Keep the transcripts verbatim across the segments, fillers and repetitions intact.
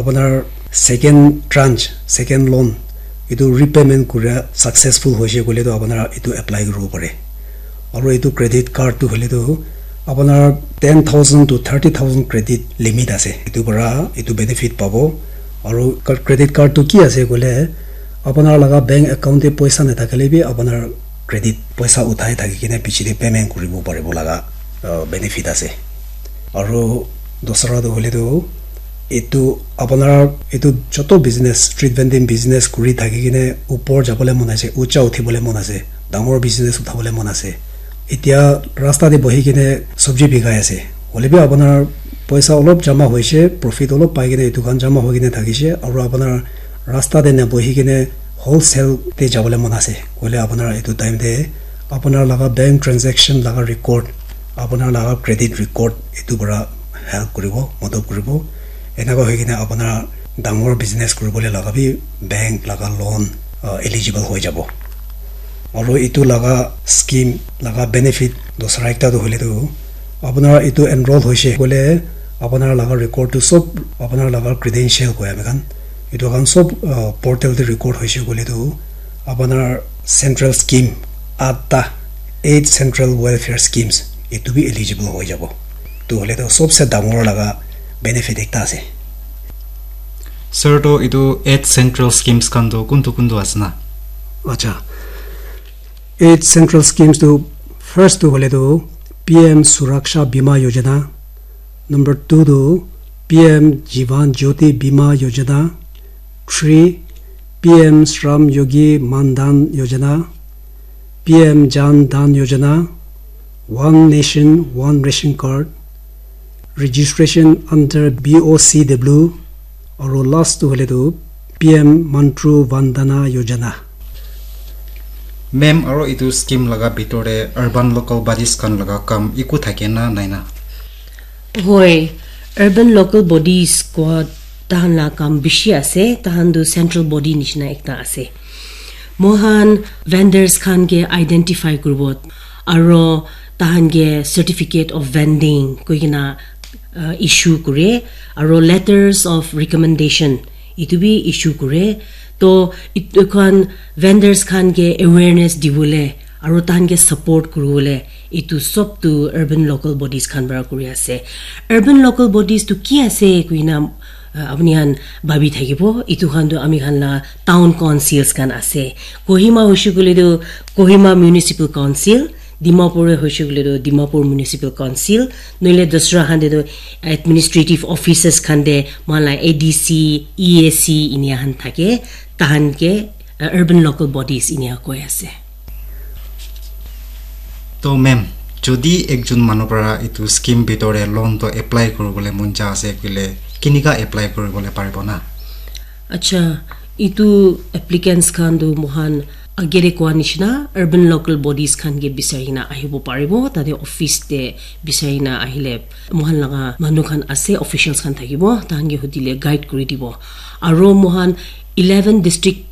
Apunar second tranche, second loan, etu repayment kura successful hoise koile tu apunar etu apply kuribo pare. Aru etu credit card tu hoile tu apunar ten thousand to thirty thousand credit limit ase. Etu para etu benefit pabo. Aru card, credit card tu ki ase koile apunar laga bank account te poisa nathakile bi apunar credit poisa uthai thaki kene piche te payment kuribo paribo laga, uh, benefit ase. Aru dusra tu hoile tu etu apunar etu joto business, street vending business kuri thaki kene upor jabole mon ase, ucha uthibole mon ase, dangor business uthabole mon ase. Etia rasta te bohi kene sabji bikai ase. Hoile bi apunar poisa olop jama hoise, profit olop pai kene etu khan jama hoi kene thakise, aru apunar rasta te na bohi kene wholesale te jabole mon ase. Koile apunar etu time te apunar laga bank transaction laga record, apunar laga credit record etu para help kuribo, madad kuribo. Enaka hoi kene apunar dangor business kuribole laga bi bank laga loan, uh, eligible hoi jabo. Aru etu laga scheme laga benefit dusra ekta tu hoile tu apunar etu enroll hoise koile apunar laga record tu sob apunar laga credential koi ami khan etu khan sob, uh, portal te record hoise koile tu apunar central scheme atta, eight central welfare schemes, etu bi eligible hoi jabo. Tu hoile tu sobse dangor laga benefit ekta ase. Sir, to etu eight central schemes khan to kuntu kuntu ase na? Acha, eight central schemes tu first tu hoile tu P M Suraksha Bima Yojana, number two tu P M Jivan Jyoti Bima Yojana, three P M Shram Yogi Mandan Yojana, P M Jan Dhan Yojana, One Nation One Ration Card, registration under B O C W, aru last tu hoile tu P M Mantru Vandana Yojana. Ma'am, aro etu scheme laga bitor te urban local bodies khan laga kam eku thake na nai na? Hoi, urban local bodies kua tahan la kam bishi ase, tahan tu central body nishina ekta ase. Mohan vendors khan ke identify kuribo, aro tahan ke certificate of vending koi kena, uh, issue kure, aro letters of recommendation itu bi issue kure. To itu khan vendors khan ke awareness dibole aro tahan ke support kuribole itu sob tu urban local bodies khan para kuri ase. Urban local bodies tu ki ase kuina, uh, apni khan bhabi thakibo, itu khan tu ami khan la town councils khan ase. Kohima hoishe koile tu Kohima Municipal Council, Dimapur te hoishe koile tu Dimapur Municipal Council, noile dusra khan te tu administrative offices khan te mohan la A D C, E A C inia khan thake, tahan ke, uh, urban local bodies inia koi ase. To ma'am, jodi ekjon manu para etu scheme bitor te loan to apply kuribole mon ja ase koile, kinika apply kuribole paribo na? Acha, itu applicants khan tu mohan agere koa nishina urban local bodies khan ke bisari na ahibo paribo, tate office te bisari na ahile mohan laga manu khan ase, officials khan thakibo, tahan ke hudile guide kuri dibo. Aro mohan eleven district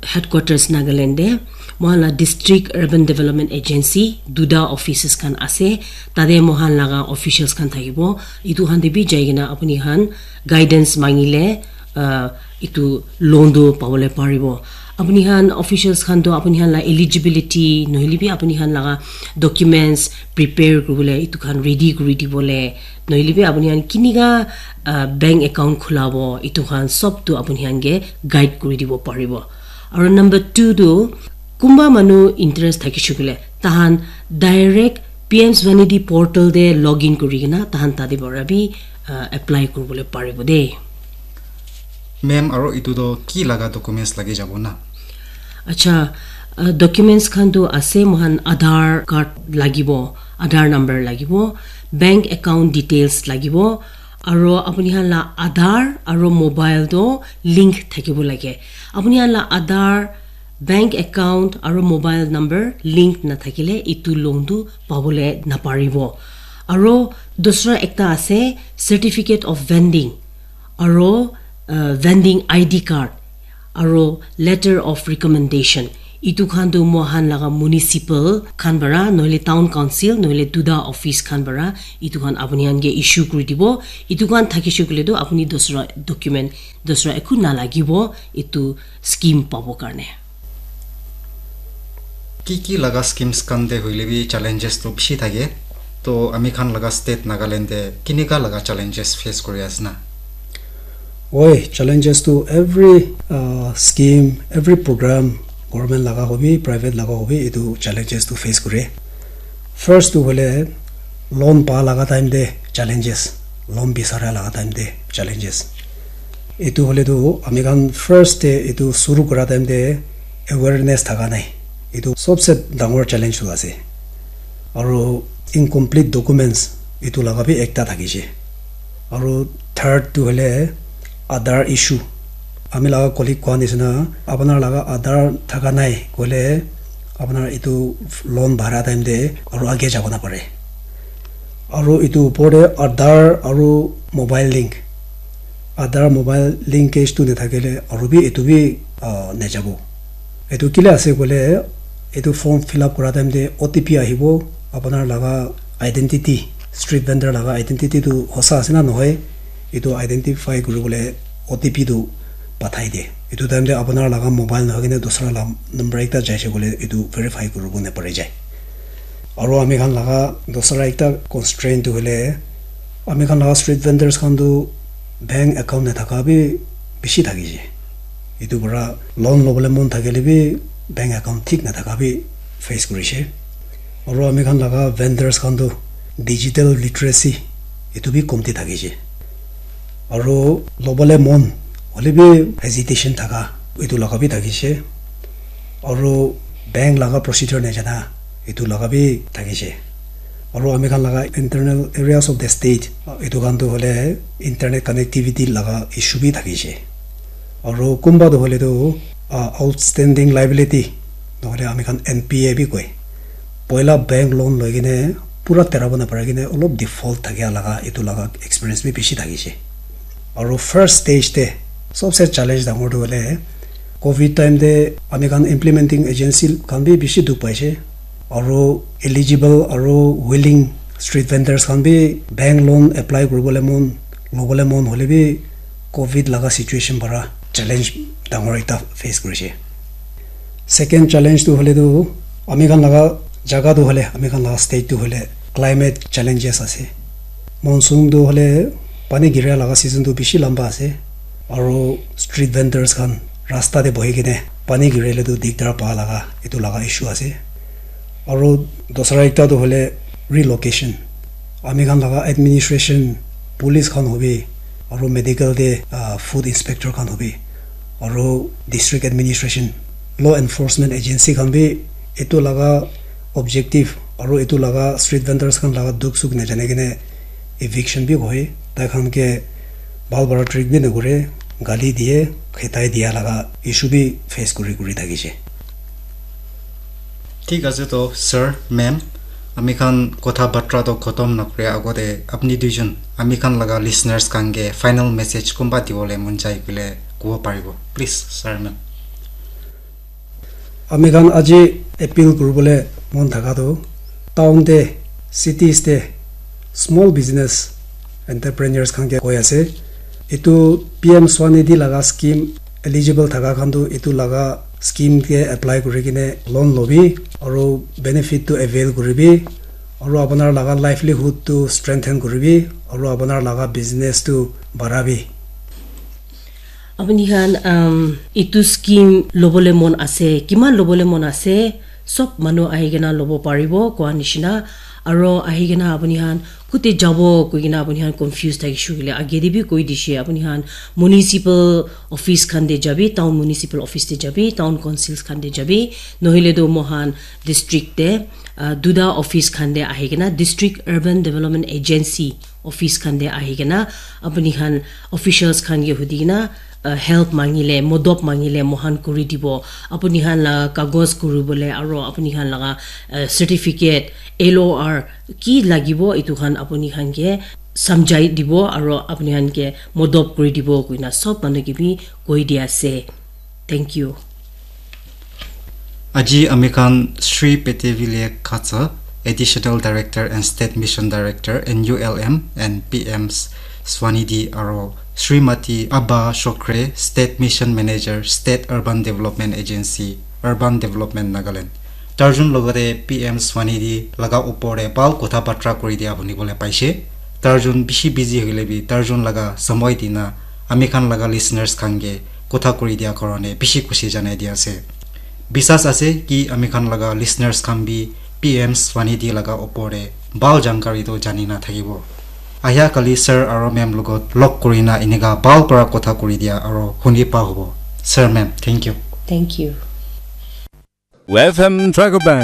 headquarters Nagaland te mohan la district urban development agency duta offices khan ase, tate mohan laga officials khan thakibo, itu khan te bi jai kena apni khan guidance mangile, uh, itu loan tu pabole paribo. Apni khan officials khan tu apni khan la eligibility nohile bi apni khan laga documents prepare kuribole itu khan ready kuri dibole, nohile bi apni khan kinika, uh, bank account khulabo itu khan sob tu apni khan ke guide kuri dibo paribo. Aro number two tu kunba manu interest thakishe koile tahan direct P M Svanidhi portal te login kuri kena tahan tate para bi, uh, apply kuribole paribo de. Ma'am, aro etu to ki laga documents lagi jabo na? Acha, uh, documents khan tu ase, mohan Aadhaar card lagibo, Aadhaar number lagibo, bank account details lagibo, aro apni khan la Aadhaar aro mobile to link thakibo lage. Apni khan la Aadhaar, bank account aro mobile number link nathakile itu loan tu pabole naparibo. Aro dusra ekta ase, certificate of vending, aro, uh, vending I D card, aro letter of recommendation. Itu khan tu mohan laga municipal khan para, nohile town council, nohile duda office khan para, itu khan apuni khan ke issue kuri dibo. Itu khan thakishe koile tu apuni dusra document, dusra ekhu nalagibo itu scheme pabo karne. Ki ki laga schemes khan te hoile bi challenges to bishi thake. To ami khan laga state Nagaland te kinika laga challenges face kuri ase na? Oi, challenges to every uh, scheme, every program, government laga hobi, private laga hobi, itu challenges to face kore. First to hoile loan pa laga time te challenges, loan bisara laga time te challenges. Itu hoile tu ami khan first te itu suru kora time te awareness thaka nai. Itu sobse dangor challenge tu ase. Aru incomplete documents itu laga bi ekta thakishe. Aru third tu hoile Aadhaar issue. Ami laga colleague koa nishina, apunar laga Aadhaar thaka nai koile apunar itu loan bhara time te aru age jabo na pare. Aru itu upor te Aadhaar aru mobile link. Aadhaar mobile linkage tu nathakile aru bi itu bi uh, najabo. Itu kile ase koile itu form fill up kora time te O T P ahibo, apunar laga identity, street vendor laga identity tu hosa ase na nohoi, itu identify kuribole O T P tu pathai de. Itu time te apunar laga mobile nohoi kene dusra la number ekta jaise koile itu verify kuribo napari jai. Aru ami khan laga dusra ekta constraint tu hoile ami khan laga street vendors khan tu bank account nathaka bi bishi thakishe. Itu para loan lobole mon thakile bi bank account thik nathaka bi face kurishe. Aru ami khan laga vendors khan tu digital literacy itu bi komti thakishe. Aru lobole mon hoile bi hesitation thaka itu laga bi thakishe. Aru bank laga procedure najana itu laga bi thakishe. Aru ami khan laga internal areas of the state itu khan tu hoile internet connectivity laga issue bi thakishe. Aru kunba tu hoile tu uh, outstanding liability nohole ami khan N P A bi koi. Poila bank loan loi kene pura terabo napari kene olop default thakia laga itu laga experience bi bishi thakishe. Aru first stage te sobse challenge dangor tu hoile covid time te ami khan implementing agency khan bi bishi dukh paishe. Aru eligible aru willing street vendors khan bi bank loan apply kuribole mon lobole mon hoile bi covid laga situation para challenge dangor ekta face kurishe. Second challenge tu hoile tu ami khan laga jaga tu hoile ami khan laga state tu hoile climate challenges ase. Monsoon tu hoile pani gira laga season tu bishi lamba ase. Aru street vendors khan rasta te bohi kene pani girile tu dikdar pa laga itu laga issue ase. Aru dusra ekta tu hoile relocation. Ami khan laga administration, police khan hobi, aru medical te uh, food inspector khan hobi, aru district administration, law enforcement agency khan bi itu laga objective aru itu laga street vendors khan laga dukh sukh najane kene eviction bi hoi, tai khan ke bhal para treat bi nakure, gali diye, khetai diya laga issue bi face kuri kuri thakishe. Thik ase to sir, ma'am, ami khan kotha batra to khotom nakure agote apni duijon ami khan laga listeners khan ke final message kumba dibole mon jai koile kobo paribo, please sir, ma'am. Ami khan aji appeal kuribole mon thaka tu town te, cities te small business entrepreneurs khan ke koi ase, etu P M Swanidhi laga scheme eligible thaka khan tu etu laga scheme ke apply kuri kene loan lobi aru benefit tu avail kuribi aru apunar laga livelihood tu strengthen kuribi aru apunar laga business tu barabi. Apuni khan um, itu scheme lobole mon ase, kiman lobole mon ase, sob manu ahi kena lobo paribo koa nishina. Aro ahi kena apuni khan kute jabo koi kena apuni khan confuse thakishe koile age te bi koi dishe, apuni khan municipal office khan te jabi, town municipal office te jabi, town councils khan te jabi, nohile to mohan district te uh, duda office khan te ahi kena, district urban development agency office khan te ahi kena apuni khan officials khan ke hudi kena uh, help mangile, modop mangile mohan kuri dibo. Apuni khan la kagos kuri bole aro apuni khan laga uh, certificate, L O R ki lagibo itu khan apuni khan ke samjhai dibo aro apuni khan ke modop kuri dibo kuina sob manu ke bi koi dia ase. Thank you. Aji ami khan Sri Petevilek Khatsa, Additional Director and State Mission Director, N U L M, and P M Swanidhi aro Srimati Abba Shokre, State Mission Manager, State Urban Development Agency, Urban Development Nagaland. Tarjun logate P M Swanidhi laga upor te bal kotha batra kuri dia huni bole paise. Tarjun bishi busy hoile bi tarjun laga samoi dina ami khan laga listeners khan ke kotha kuri dia karone bishi khushi janai dia ase. Bisas ase ki ami khan laga listeners khan bi P M Swanidhi laga upor te bal jankari to jani na thakibo. Ahya kali sir aro ma'am logot log kuri na inika bal para kotha kuri dia aro huni pa hobo. Sir, ma'am, thank you. Thank you. F M Dragon Band.